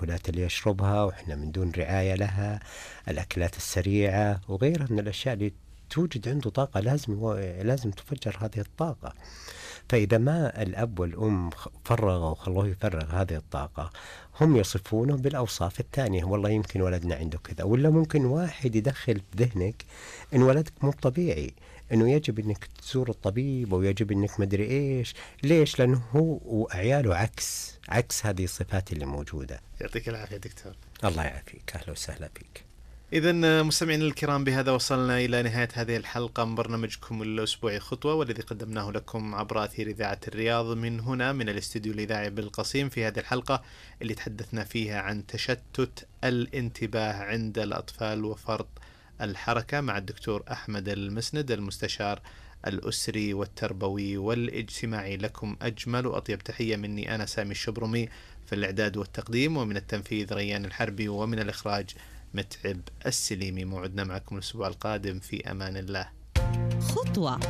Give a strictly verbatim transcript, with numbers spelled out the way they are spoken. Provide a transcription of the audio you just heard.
المأكولات اللي يشربها وإحنا من دون رعاية لها، الأكلات السريعة وغيرها من الأشياء اللي توجد عنده طاقة لازم لازم تفجر هذه الطاقة. فإذا ما الأب والأم فرغوا وخلوه يفرغ هذه الطاقة، هم يصفونه بالأوصاف الثانية، والله يمكن ولدنا عنده كذا، ولا ممكن واحد يدخل في ذهنك إن ولدك مو طبيعي، إنه يجب إنك تزور الطبيب ويجب إنك مدري إيش. ليش؟ لأنه هو وعياله عكس عكس هذه الصفات اللي موجودة. يعطيك العافية دكتور. الله يعافيك، أهلا وسهلا فيك. إذن مستمعينا الكرام، بهذا وصلنا إلى نهاية هذه الحلقة من برنامجكم الأسبوعي خطوة، والذي قدمناه لكم عبر أثير إذاعة الرياض من هنا من الاستوديو الإذاعي بالقصيم. في هذه الحلقة اللي تحدثنا فيها عن تشتت الانتباه عند الأطفال وفرط الحركة مع الدكتور أحمد المسند، المستشار الأسري والتربوي والاجتماعي. لكم أجمل وأطيب تحية مني أنا سامي الشبرمي، في الإعداد والتقديم، ومن التنفيذ ريان الحربي، ومن الإخراج متعب السليمي. موعدنا معكم الأسبوع القادم، في أمان الله. خطوة.